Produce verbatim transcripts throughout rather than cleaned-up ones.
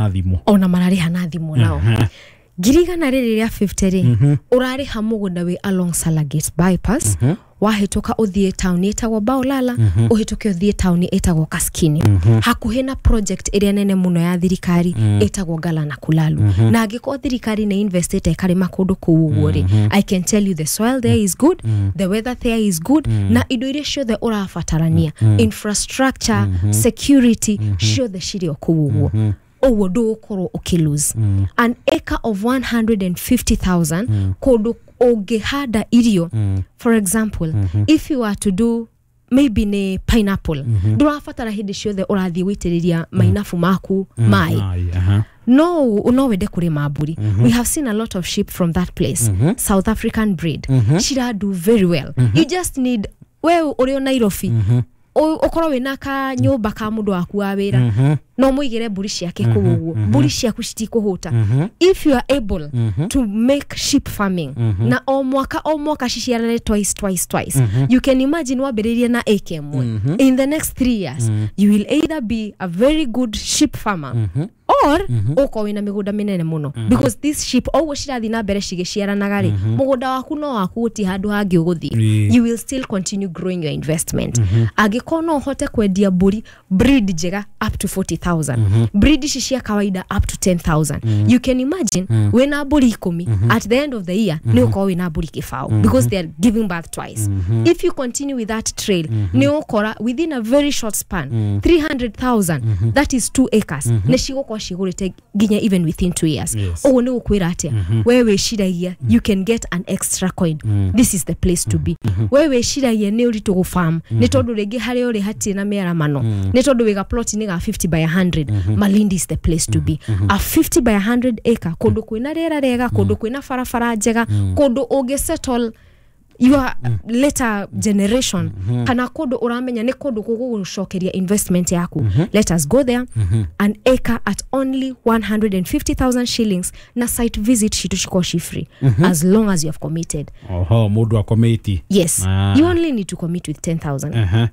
Thimũ. Ona mararĩha na thimũ nao. Ngiri igana rĩrĩ rĩa fifty rĩ, ũrarĩha mũgũnda wĩ along Salagate bypass, wahĩtũka ũthiĩ taũni ĩtagwo Baolala, ũhĩtũke ũthiĩ taũni ĩtagwo Kaskini, hakuhĩ na project ĩrĩa nene mũno ya thirikari ĩtagwo Gala na Kulalu. Na angĩkorwo thirikari nĩ investĩte ĩkarĩma kũndũ kũu ũguo rĩ, I can tell you the soil there is good, the weather there is good, na indo iria ciothe ũrabatarania, infrastructure, security, ciothe cirĩ o kũu ũguo. Ũguo ndũgũkorwo ũkĩlose an acre of one hundred fifty thousand kũndũ ũngĩhanda irio. For example, if you are to do maybe nĩ pineapple, ndũrabatara hĩndĩ ciothe ũrathiĩ gũitĩrĩria mainabu maku maĩ. Maĩ, aha. no no wende kũrĩma mbũri. We have seen a lot of sheep from that place, South African breed, cira do very well. You just need we ũrĩ o Nairobi, ũ- ũkorwo wĩna ka nyũmba ka mũndũ waku wa wĩra, no mũigĩre mbũri ciake kũu ũguo, mbũri ciaku citikũhũta. If you are able to make sheep farming na o mwaka o mwaka ciciarane twice, twice, twice, you can imagine wambĩrĩrie na acre ĩmwe, in the next three years you will either be a very good sheep farmer or ũkorwo wĩna mĩgũnda mĩnene mũno, because this sheep o ũguo cirathiĩ na mbere cigĩciaranaga rĩ, mũgũnda waku no waku, gũtirĩ handũ hangĩ ũgũthiĩ. Ĩĩ. You will still continue growing your investment. Angĩkorwo no ũhote kwendia mbũri breed njega up to forty thousand, breed ici cia kawaida up to ten thousand, you can imagine wĩna mbũri ikũmi, at the end of the year nĩ ũkorwo wĩna mbũri kĩbaũ, because they are giving birth twice. If you continue with that trail, nĩ ũkora within a very short span three hundred thousand, that is two acres, nĩ cigũkorwo cigũrĩte nginya even within two years. Yes. Ũguo nĩ gũkwĩra atĩa? We wĩciragia you can get an extra coin, this is the place to be. We wĩciragia nĩ ũritũ gũfarm nĩ tondũ rĩngĩ harĩa ũrĩ hatirĩ na mĩaramano, nĩ tondũ wĩga plot-inĩ ga fifty by one hundred, Malindi is the place to be. A fifty by one hundred acre, kũndũ kwĩna rĩera rĩega, kũndũ kwĩna barabara njega, kũndũ ũngĩ settle your later generation, kana kũndũ ũramenya nĩ kũndũ gũgũgũcokeria investment yaku, let us go there. An acre at only one hundred fifty thousand shillings, na site visit citũ cikorwo ci free as long as you have committed. Oho, mũndũ akomĩti. Yes. Ah. You only need to commit with ten thousand, Aha.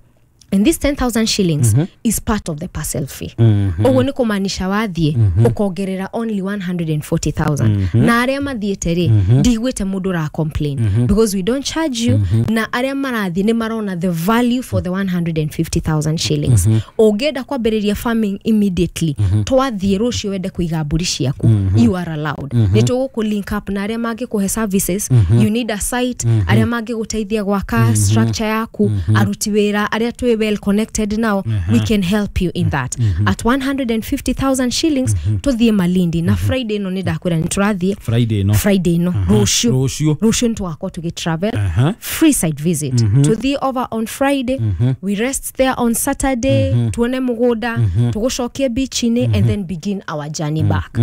and this ten thousand shillings is part of the parcel fee. Ũguo nĩ kũmaanisha wathiĩ ũkongerera only one hundred forty thousand. Na arĩa mathiĩte rĩ, ndiguĩte mũndũ ũra complain, because we don't charge you, na arĩa marathiĩ nĩ marona the value for the one hundred fifty thousand shillings. Ũngĩenda kwambĩrĩria farming immediately, twathiĩ rũciũ wende kũiga mbũri ciaku, you are allowed. Nĩ tũgũkũ link up na arĩa mangĩkũhe services. You need a site, arĩa mangĩgũteithia gwaka structure yaku, aruti wĩra arĩa twĩ well connected now, we can help you in that. At one hundred fifty thousand shillings, tũthiĩ Malindi na Friday ĩno. Nĩ ndakwĩra nĩ tũrathiĩ. Friday no. Friday ĩno, rũciũ. Rũciũ. Rũciũ nĩ tũgakorwo tũgĩ travel. Aha. Free site visit, tũthiĩ over on Friday, we rest there on Saturday, tuone mũgũnda, tũgũcokie beach-inĩ and then begin our journey back.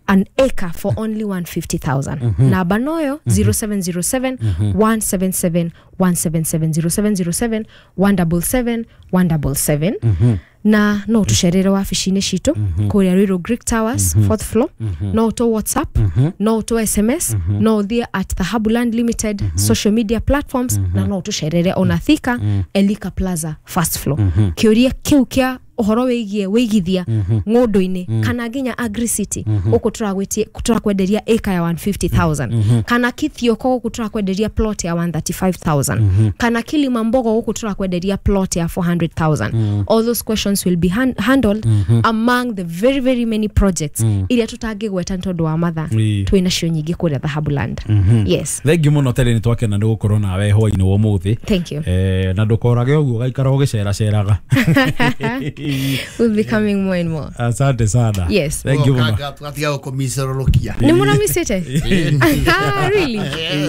An acre for only one hundred fifty thousand. Namba noyo zero seven zero seven one seven seven one seven seven, zero seven zero seven one seven seven one seven seven. Na no tũcerere wabici-inĩ citũ kũrĩa Ruiru, Greek Towers, fourth floor. No ũtũ WhatsApp, no ũtũ S M S, no ũthiĩ at Thahabu Land Limited social media platforms, na no ũtũcerere ona Thika, Elika Plaza, first floor. Kĩũria kĩu kĩa ũhoro wĩgiĩ wĩigithia ng'ũndũ-inĩ kana nginya Agricity gũkũ tũragwĩtie, tũrakwenderia acre ya one hundred fifty thousand, kana Kithioko gũkũ tũrakwenderia plot ya one hundred thirty-five thousand, kana Kilimambogo gũkũ tũrakwenderia plot ya four hundred thousand, all those questions will be han handled among the very very many projects iria tũtangĩgweta nĩ tondũ wa mathaa. Ĩĩ. Twĩ nacio nyingĩ kũrĩa Thahabu Land, yes. Thengiũ mũno Terĩ, nĩ twakena nĩ gũkorwo nawe hwainĩ wa ũmũthĩ. Thank you. Eh, na ndũkorage ũguo, gaikara ũgĩceraceraga. We'll be coming more and more. Asante sana. Yes. Thank you mũno. Tũgatiga gũkũmicororokia. Nĩ mũramicĩte? Ah, really?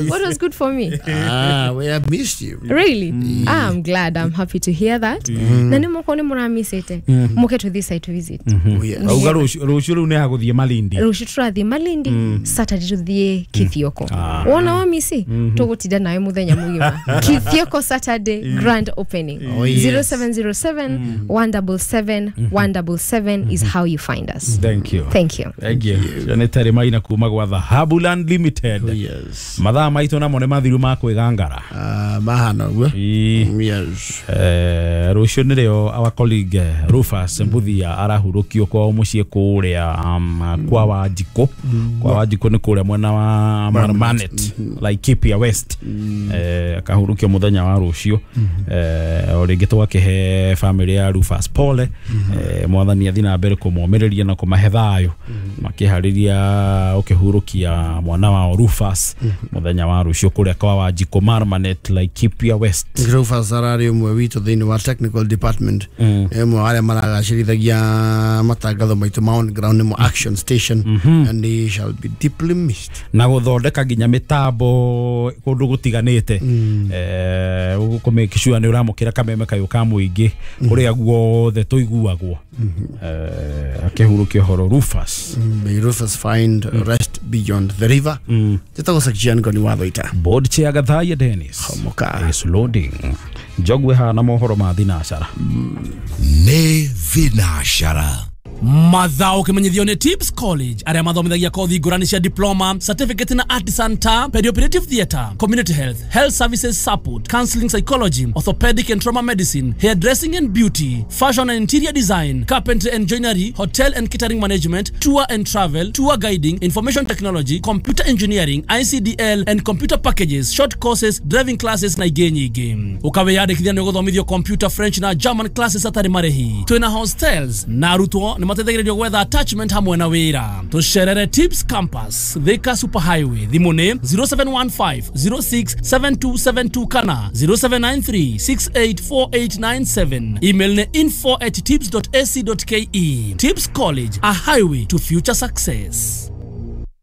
What was good for me? Ah, we have missed you. Really? Ah, I'm glad. I'm happy to hear that. Na nĩ mũkorwo nĩ mũramicĩte, mũke to this site visit. Oh, yes. Auga rũciũ rũciũ rĩu nĩ hagũthiĩ Malindi. Rũciũ tũrathiĩ Malindi, Saturday tũthiĩ Kithioko. Ah. Wona wamisi, tũgũtinda nawe mũthenya mũgima. Kithioko, Saturday, grand opening. Oh, yes. zero seven zero seven one seven seven. seven one double seven is how you find us. Thank you. Thank you. Thank you. Nĩ Terry Maina kuma gwa Dhahabu Land Limited. Oh, yes. Mathaa maitũ namo nĩ mathiru ma kwĩgangara. Uh, mahana ũguo. Ĩĩ. Yes. Eh, rũciũ nĩrĩo our colleague eh, Rufus Mbuthia arahurũkio kwao mũciĩ kũrĩa um, kwa Wanjikũ. Kwa Wanjikũ nĩ kũrĩa mwena wa Marmanet, Laikipia West. Eh, akahurũkio mũthenya wa rũciũ. Eh, o rĩngĩ tũgakĩhe family ya Rufus pole. Eh, mwathani athiĩ na mbere kũmomĩrĩria na kũmahe thayũ makĩharĩria ũkĩhurũkia mwana wao Rufus mũthenya wa rũciũ kũrĩa kwa Wanjikũ Marmanet, Laikipia West. Rufus ararĩ ũmwe witũ thĩinĩ wa technical department, nĩ ũmwe wa arĩa maragacĩrithagia matangatho maitũ ma on ground nĩmo Action Station, and he shall be deeply missed. Na gũthondeka nginya mĩtambo kũndũ gũtiganĩte, eh, kũ sure nĩ ũramũkĩra kameme kayũ ka mũingĩ kũrĩa guothe tũiguagwo. Eh, akĩhurũkia ũhoro Rufus. May Rufus find rest beyond the river. Njĩtagwo Sakjian Ngoni wa Thũita. Board chair Gathaiya Dennis. Homoka. Is loading njogwe hana mohoro ma thinacara. Nĩ thinacara. Mathao kimenyithio nĩ Tips College arĩa mathomithagia kothi ngũrani cia diploma, certificate na artisan ta perioperative theatre, community health, health services support, counseling psychology, orthopedic and trauma medicine, hairdressing and beauty, fashion and interior design, carpentry and joinery, hotel and catering management, tour and travel, tour guiding, information technology, computer engineering, I C D L and computer packages, short courses, driving classes na ingĩ nyingĩ. Ũkawĩyandĩkithia nĩ ũgũthomithio computer, French na German classes atarĩ marĩhi. Twĩna hostels na arutwo nĩ mateithagĩrĩrio gwetha attachment hamwe na wĩra. Tũcerere Tips Campus, Thika Super Highway. Thimũ nĩ zero seven one five zero six seven two seven two kana zero seven nine three six eight four eight nine seven. Email nĩ info at tips dot a c dot k e. Tips College, a highway to future success.